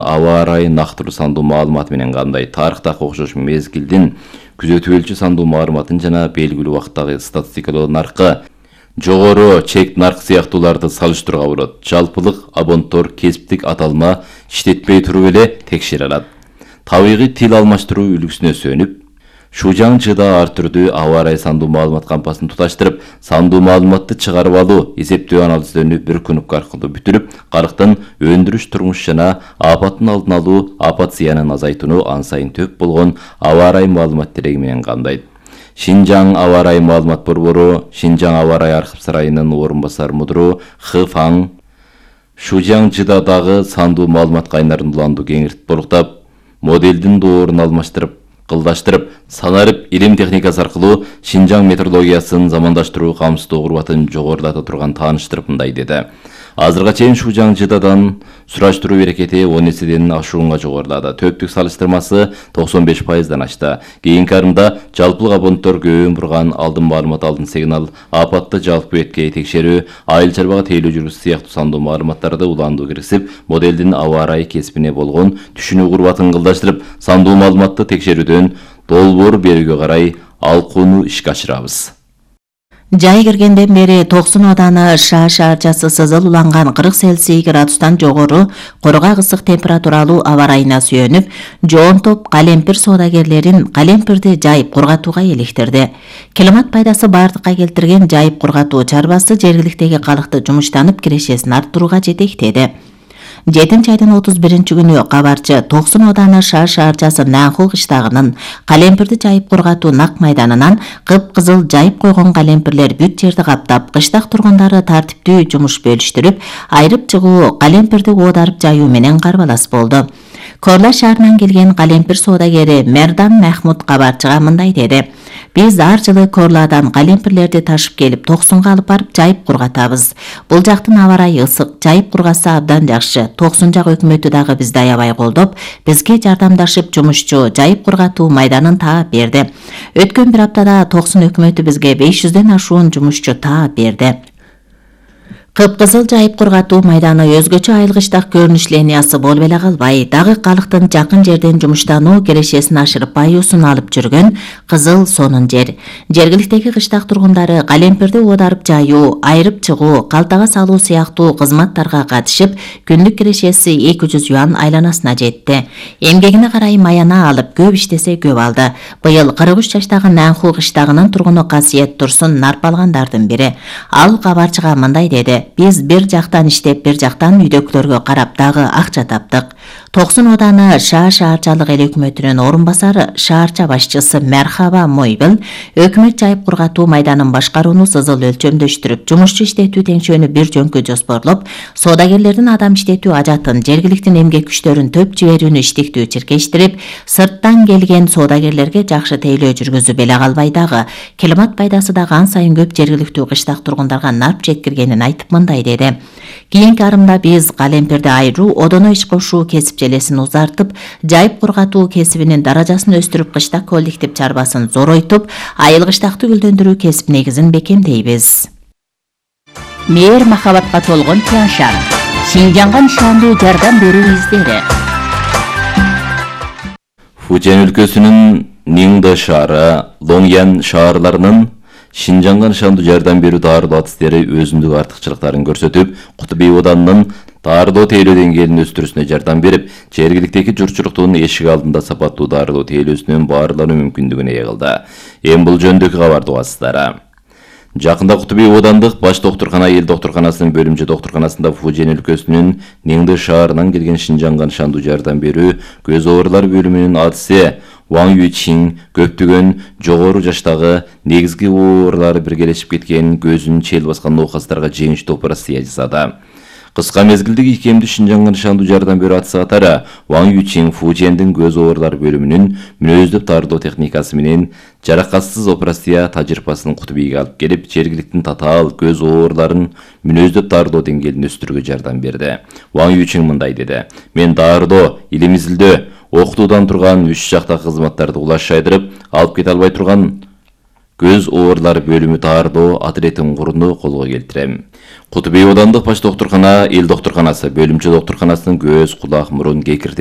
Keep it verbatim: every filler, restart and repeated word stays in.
аба ырайын нактыруу сандуу маалыматы менен кандай? Тарыхтагы окшош мезгилдин күзөтүп өлчү сандуу маалыматын жана белгилүү убакыттагы статистикалоо наркы жогору чек нарк сыяктууларды салыштырууга болот. Жалпылык абонттор кесиптик аталма иштетпей туруп эле текшере алат. Табигый тил алмаштыруу үлгүсүнө сүйөнүп, Шужаңчыда ар түрдүү аба ырайы сандуу маалымат кампасын туташтырып, сандуу маалыматты чыгарып алуу, эсептөө анализдерини бир күнүк аркылуу бүтүрүп, карыктын өндүрүш, турмуш жана апаттын алдын алуу, апат зыянын азайтууну ан сайын төп болгон аба ырайы маалымат тереги менен камдайт. Шинжаң аба ырайы маалымат борбору, Шинжаң аба ырайы архив сарайынын орун басар мудуру Хы Фаң Шужаңчыдагы сандуу маалымат кайнарын уланду кеңиртип болуктап, моделдин доорун алмаштырып, кылдаштырып, санарып илим техникасы аркылуу Шинжаң метрологиясын замандаштыруу камсыздоо курбатын жогорулата турган тааныштырып мындай деди. Азырга чейин Шужаңчыдадан сураштыруу берекети он эседен ашуунга жогорулады. Төптүк салыштырмасы токсон беш пайыздан ашты. Кийинки арымда жалпылык абонттор көбүн бурган, алдын маалымат, алдын сигнал, апатты жалпы бетке текшерүү, айыл чарбага тейлөө жүргүзүү сыяктуу сандуу маалыматтарды уландуу киргизип, моделдин аба ырайы кесибине болгон түшүнүү курбатын кылдаштырып, сандуу маалыматты текшерүүдөн долбоор берүүгө карай алкууну ишке ашырабыз. Жай киргенден бери Токсон Ооданы Шаа шаарчасы сызыл уланган кырк Цельсий градустан жогору коргак ысык температуралуу аба ырайына сүйөнүп, жоон топ калемпир соодагерлерин калемпирди жайып кургатууга электирди. Климат пайдасы бардыкка келтирген жайып кургатуу чарбасы жергиликтеги калкты жумуштанып кирешесин арттырууга жетектеди. жетинчи айдын отуз биринчи күнү кабарчы Токсон Ооданы Шаа шаарчасы Нанху кыштагынын калемпирди жайып кургатуу нак майданынан кып-кызыл жайып койгон калемпирлер бүт жерди каптап, кыштак тургундары тартиптүү жумуш бөлүштүрүп, айрып чыгуу, калемпирди оодарып жайуу менен карбалас болду. Корла шаарынан келген калемпир соодагери Мердан Махмуд кабарчыга мындай деди: Биз ар жылы Корладан калемпирлерди ташып келип Токсонго алып барып жайып кургатабыз. Бул жактын аба ырайы ысык, жайып кургаса абдан жакшы. Токсон жак өкмөтү дагы бизди аябай колдоп, бизге жардамдашып жумушчу жайып кургатуу майданын таап берди. Өткөн бир аптада Токсон өкмөтү бизге беш жүздөн ашуун жумушчу таап берди. Кып-кызыл жайып кургатуу майданы өзгөчө айылгычтак көрүнүш линиясы болуп эле калбай, дагы калктын жакын жерден жумуштануу кирешесин ашырып баюусун алып жүргөн кызыл сонун жер. Жергиликтеги кыштак тургундары калемпирди оодарып жайуу, айрып чыгуу, калтага салуу сыяктуу кызматтарга катышып, күндүк кирешеси эки жүз юан айланасына жетти. Эмгегине карай маяна алып, көп иштесе көп алды. Быйыл кырк үч жаштагы Нанху кыштагынын тургуну Касиет Турсун нарп алгандардын бири. Ал кабарчыга мындай деди: Биз бир жактан иштеп, бир жактан үйдөкүлөргө карап дагы акча таптык. Токсон Ооданы Шаа шаарчалык эл өкмөтүнүн орун басары, шаарча башчысы Мерхаба Мойбил өкмөт жайып кургатуу майданын башкарууну сызыл өлчөмдөштүрүп, жумушчу иштетүү теңшөөнү бир жөнкө жоспорлоп, соодагерлердин адам иштетүү ажатын, жергиликтин эмгек күчтөрүн төп жиберүүнү иштиктүү чиркештирип, сырттан келген соодагерлерге жакшы тейлөө жүргүзүп эле калбай дагы, климат пайдасы дагы ан сайын көп жергиликтүү кыштак тургундарга нарп жеткиргенин айтып мындай деди: Кийинки арымда биз калемпирди айыруу, одоно иш кошуу кесип желесин узартып, жайып кургатуу кесибинин даражасын өстүрүп, кыштак коллектив чарбасын зоройтуп, айылгычтакты гүлдөндүрүү кесип негизин бекемдейбиз. Мээр махабатка толгон Тяншан, Шинжаңга нышандуу жардам берүү издери. Фужен өлкөсүнүн Ниңдэ шаары, Лоңян шаарларынын Шинжаңга нышандуу жардам берүү дарылоо адистери өзүндүк артыкчылыктарын көрсөтүп, Кутуби Оодандын дарылоо тейлөө деңгээлин өстүрүүсүнө жардам берип, жергиликтеги журтчулуктун эшик алдында сапаттуу дарылоо тейлөөсүнөн баарлануу мүмкүндүгүнө ээ кылды. Эми бул жөнүндөгү кабарды угасыздар. Жакында Кутуби Оодандык баш доктуркана эл доктурканасынын бөлүмчө доктурканасында Фужен өлкөсүнүн Ниңдэ шаарынан келген Шинжаңга нышандуу жардам берүү көз оорулар бөлүмүнүн адиси Ван Юйчин көптөгөн жогору жаштагы негизги оорулары биргелешип кеткен көзүн чел баскан оокаттарга жеңиштүү операция жасады. Кыска мезгилдеги икемдүү Шинжаңга нышандуу жардам берүү адысы катары Ван Юйчин Фужендин көз оорулар бөлүмүнүн мүнөздөп дарылоо техникасы менен жаракатсыз операция тажрыйбасын Кутубийге алып келип, жергиликтин татаал көз ооруларын мүнөздөп дарылоо деңгээлин өстүрүүгө жардам берди. Ван Юйчин мындай деди: Мен дарылоо, илим изилдөө, окутуудан турган үч жактагы кызматтарды улаш шайдырып, алып кете албай турган көз оорулары бөлүмү даарылоо отрядын курууну колго келтирем. Кутуп үй аудандык баш доктуркана, эл доктурканасы, бөлүмчө доктурканасынын көз, кулак, мурун, кекиртек